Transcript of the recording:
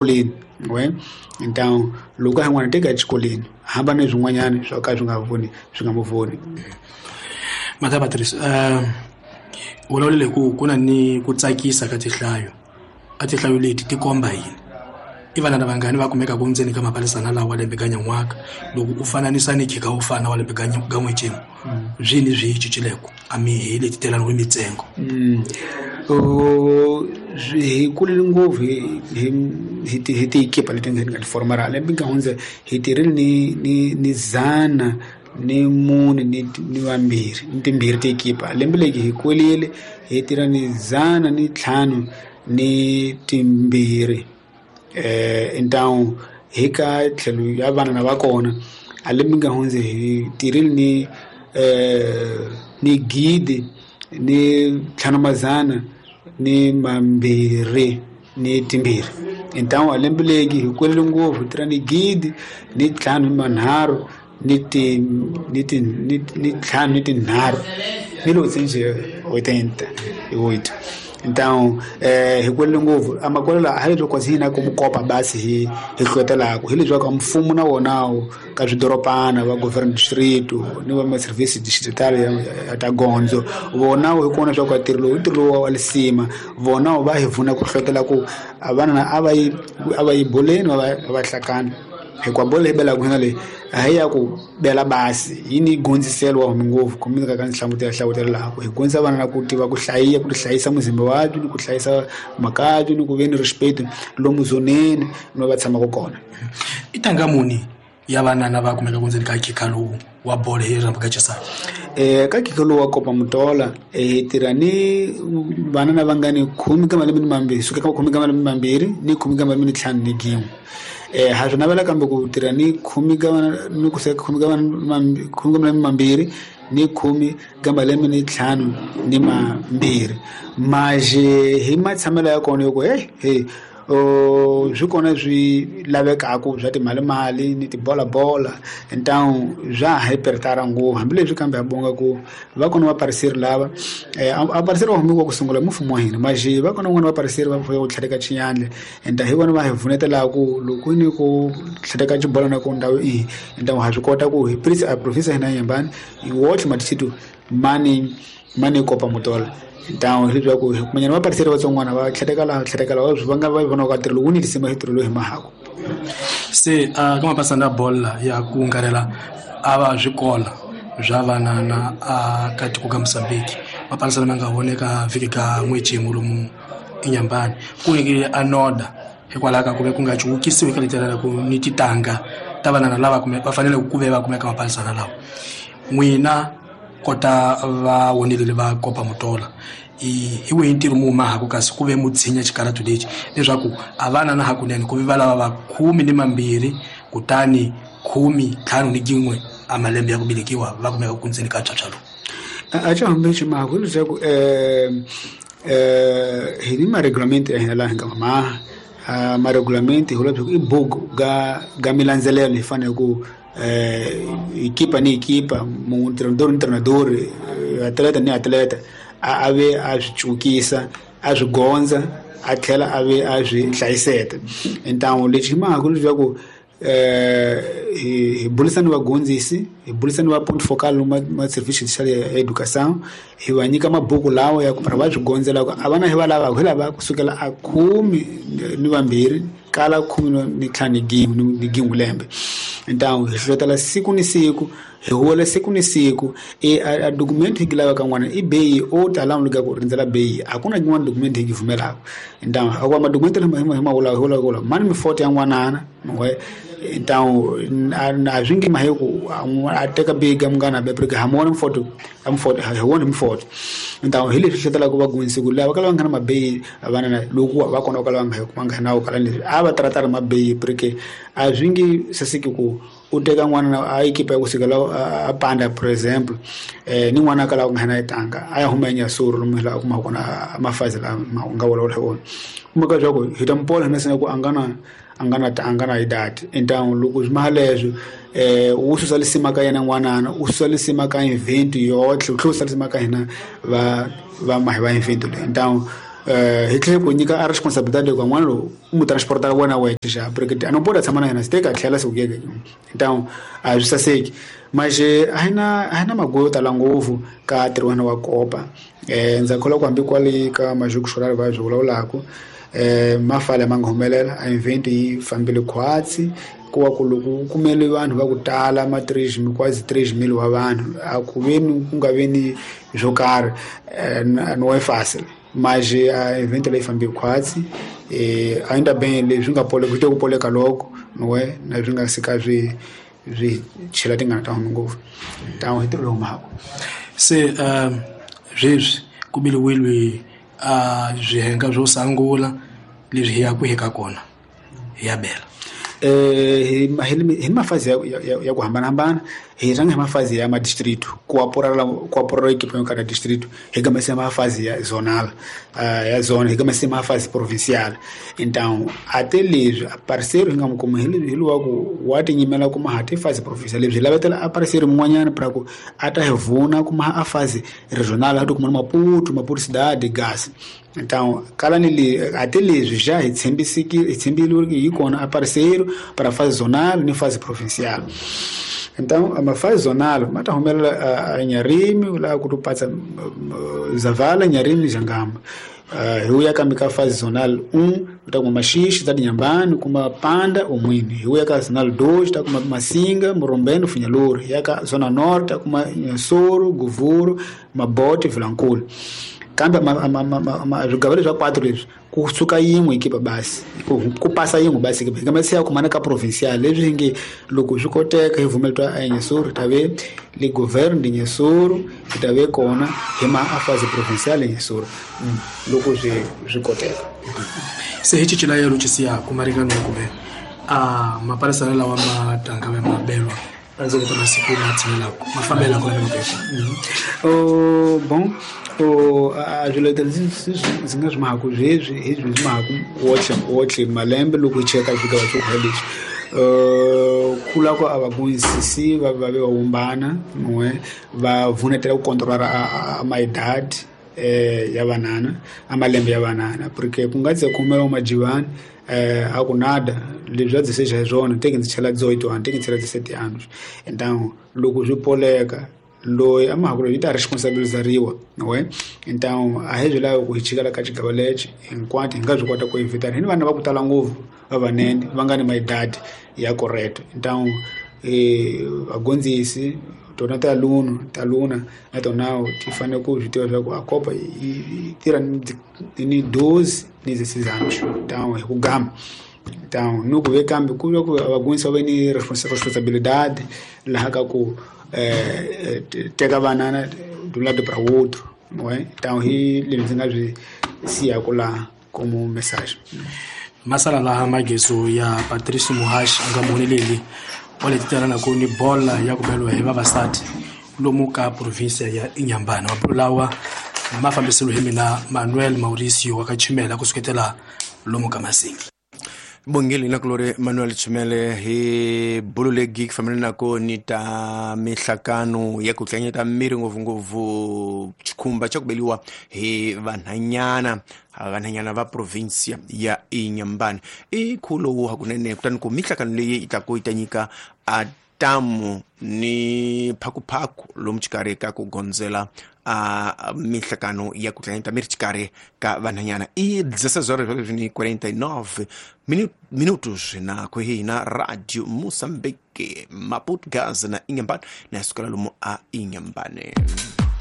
Xikolweni we então loko a hi n'wana teka exikolweni hamba ni swin'wanyana swo ka swi nga voni swi nga mu voni. Mata Patrice, vulavulele ku ku na ni ku tsakisa ka tinhlayo, a tinhlayo leti ti komba yini? I vana vangani va kumekaka ndzeni ka mapalisana lawa lembe ka nyan'waka loko u fananisa ni khika wo fana wa lembe ka n'wexemu, byi ni byi cincileko a mi hi leti telani ku mitsengo? Hi kulile ngopfu hi tikipa leti nga ti formara lembe nga hundza hi tirhile ni 104 ni vambirhi ni timbirhi tikipa. Lembe leki hi kulile hi tirha ni 152. Então hi ka tlhelo ya vana na va kona a lembe nga hundza hi tirhile ni 1522. Então a lembe leki hi kulile ngopfu hi tirha ni 1503 ni 53 1888. Então hi kulile ngopfu a makwelo a hi leswaku kasi hina ku mukopa basi hi hlohlotelaka hi leswaku mfumo na wona ka swidorobana va government district ni va ma service digital ya ta gondzo vona hi kona swa ku ntirho lowu ntirho lowu wa lisima vona va hi pfuna ku hlohlotela ku a vana a va yi boleni va hlakana hikuva bolo leyi belaka hina leyi a hi ya ku bela basi yi ni gondziselo wa humi ngopfu kumbe ka hlavutela laha ku hi gondzisa vana na ku tiva ku hlayiya ku hlayisa muzimba wa ni ku hlayisa makabyi ni ku ve ni respect lomu zoneni no va tshamaka kona. I tanga muni ya vana va kumeka ndzeni ka khikha lowu wa bolo hi rhambu ka Chisana? Ka khikha lowu wa Kopa Mutola hi tirha ni vana na vangani 10 ka malembe ni mambirhi suka ka 10 ka malembe mambirhi ni 10 ka malembe ni 5 ni gin'we. Ha swi navela kambe ku tirha ni 10 ka ni ku seka 10 ka malembe mambirhi ni 10 ka malembe ni 5 ni mambirhi. Maje hi matshamelo ya kona yo he swi kona swi lavekaka swa timalimali ni tibolabola então swa ha hi pertara ngopfu hambileswi kambe ha bonga ku va kona vapariseri lava a pariseri va humiwa ku sungula mfumo wa hina maje va kona van'wana vapariseri va ku tlheleka xinyandle enta hi vona va hi pfunetelaka loko ni ku tlheleka xibola na ku ndhawu ihi então ha swi kota ku hi a professor hina Nyembani hi wotlhe matisitu mani Kopa Mutola. Então hi leswaku kumanyana vapariseri vatsongwana va tlheleka laha va nga va vona ka ntirho lowu ni lisima hi ntirho lowu hi mahako. Se ka mapasana ya bolo ya ku ngarela a va swikola swa vanana a ka tiko ka Mozambique mapasana ma nga voneka vhiki ka n'wexemu lomu eNyembani ku nyikile a noda hikwalaho ka ku ve ku nga cuwukisiwi ka letela ku ni titanga ta vanana lava va fanele ku ve va kumeka mapasana lawa. N'wina kota va wonelele va Kopa Mutola hi wihi ntirho mu mahako kasi ku ve mu tshinya xikaratu lexi leswaku a vana na hakunene ku ve va lava va 12 kutani 15 ni gin'we a malembe ya ku velekiwa va kumeka ku ndzeni ka phyaphyalo? A xa hambi xi mahako leswaku hi ni maregulamente ya hina laha hi nga maha maregulamente hi vula i buku ga milandzelelo hi fanele ku equipa ni equipa treinador ni treinador atleta ni atleta a ve a swi cukisa a swi gondza a tlhela a ve a swi hlayiseta. Então lexi mahako leswaku hi burisana vagondzisi hi burisana va point focal ma service ya education hi va nyika mabuku lawa ya ku va swi gondzela ku a vana hi va lavaka hi lava kusukela a 12 kala 15 ni gin'we lembe. Então hi hlohlotela siku ni siku hi huwela siku ni siku a document hi lavaka n'wana i beyi o tala n'wi ku rindzela beyi a ku na yin'wana document hi yi pfumelaka. Então a ku madocument lama hi ma vulaka hi vulaka mani mifoto ya n'wanana então a swi nge mahe ku a teka beyi ka munghana be porque ha mona mifoto a mifoto hi wona mifoto. Então hi leswi hlohlotelaka vagondzisi ku lava kala va nga na mabeyi vana na loko va kona kala va nga va nga na kala leswi a va taratara mabeyi porque a swi nge saseki ku u teka n'wana a ekipa ya kusukela a panda por exemple ni n'wana a kala ku nga na tanga a ya huma eNyasuru lomu laha kuma kona mafazi lama nga vulavula hi wona kuma ka leswaku hi ta mupola hina sina ku a nga na idadi. Então loko swi maha leswo wu susa lisima ka yena n'wanana u susa lisima ka event yotlhe u tlhela u susa lisima ka hina va mahi va event leyi. Então Hi tlhela ku nyika a responsabilidade ka n'wana lowu u mu transporta wena wexe xa porque a no pode tshama na yena se teka tlhela se ku yeke. Então a swi saseki. Mas a hi na maguyo yo tala ngopfu ka ntirho wa Copa. Ndza kholwa ku hambi kwale ka Majuku Xolari va swi vulavulaka mafala ma nga humelela a event yi fambile khwatsi ku wa ku loko ku kumele vanhu va ku tala ma 3 quase 3,000 wa vanhu a ku veni ku nga veni swo karhi no é fácil. Mas a event leyi fambe khwatsi ainda bem leswi nga poleka ku te ku poleka loko no é na swi nga sika swi chela tingana ta huma ngopfu. Então hi ntirho lowu mhaka se sweswi ku biliwile a swihenga swo sungula leswi hi ya ku hika kona hi ya bela hi mafazi ya ku hambanahambana. Hi rhanga hi mafazi ya madistrito ku apurala equipe yo karhi ya distrito, hi gamese mafazi ya zonal ya zona, hi gamese mafazi provincial. Então até leswi parceiro hi nga mu kuma hi luwa ku wa tinyimela kuma ha ti fazi provincial leswi hi lavetela a parceiro mun'wanyana pra ku a ta hi vuna kuma a fazi regional a ti kuma Maputo, Maputo cidade, Gasa. Então kala ni le até leswi já hi tshembile hi kona a parceiro para fase zonal ni fase provincial. Então a fase zonal mata humelela a Inharime lá ku tupatsa Zavala, Inharime Jangamba. Hi uya kambe ka fase zonal 1 ta kuma Maxixi ta Inhambane kuma Panda Umwini. Hi uya ka zonal 2 ta kuma Massinga, Morombeno, Funhaluri. Ya ka zona norte ta kuma Inhassoro, Govuro, Mabote, Vilankulo. Kambe swigava leswi swa 4 leswi ku suka yin'we ekipa basi ku pasa yin'we basi ekipa kambe se ya kumana ka provincial leswi hi nge loko swi koteka hi vumeletiwa a Inhassoro ta ve le governo de Inhassoro hi ta ve kona hi ma a fase provincial Inhassoro loko swi koteka. Se hi cincilayelo xisiya ku marikano kumbe a maparisana lawa ma tanga va mabelwa endzhaku ka masiku ma tshinelaka ma fambela kona Bom, a swiletelo ndzi nga swi mahaku sweswi hi swi mahaku wotlhe malembe loko hi cheka swigava swo kha leswi kula ku a va kumisisi va va va wumbana n'we va vunetela ku controlar a maidade ya vanana a malembe ya vanana porque ku nga ze kumela majivani a ku nada leswi a dzi seja hi swona teke ndzi chela 18 anos teke ndzi chela 17 anos. Então loko swi poleka loyi a mahaku loyi yi ta responsabilizariwa we. Então a hi swi lavi ku hi chikela ka xigava lexi hinkwato hi nga swi kota ku evitana hi ni vana va ku tala ngopfu vavanene va nga ni maidadi ya correcto. Então vagondzisi tona ta luna na tona ti fanele ku swi tiva leswaku a Copa yi tirha ni 12 ni 16 anos. Então hi ku gama. Então no ku ve kambe ku va ku vagondzisi va ve ni responsabilidade laha ka ku teka vanana de um lado para o outro, não é? Então hi leswi ndzi nga swi siyaku laha como mensagem. Masala laha mageso ya Patrice Muhashi a nga muhoneleli wa leti tirhanaka ni bola ya ku beliwa hi vavasati lomu ka provinsia ya Inhambane. Mabulu lawa ma fambiselo hi mina Manuel Mauricio wa ka Chimela ku suketela lomu ka Masingi. Bongeli na kulore Manuel Chimele hi bulu legi family nako ni ta mihlakano ya ku tlanyeta miri ngopfungopfu xikhumba xa ku beliwa hi vanhanyana va provincia ya Inhambane. I khulo hakunene kutani ku mihlakano leyi yi ta ku yi ta nyika a tamu ni phakuphaku lomu xikarhi ka ku gondzela a mihlakano ya ku tlanyeta miri xikarhi ka vanhanyana. I 16:49 minutos na kuhina Radio Moçambique Maputo Gaza na Inhambane na sukela lomu a Inhambane.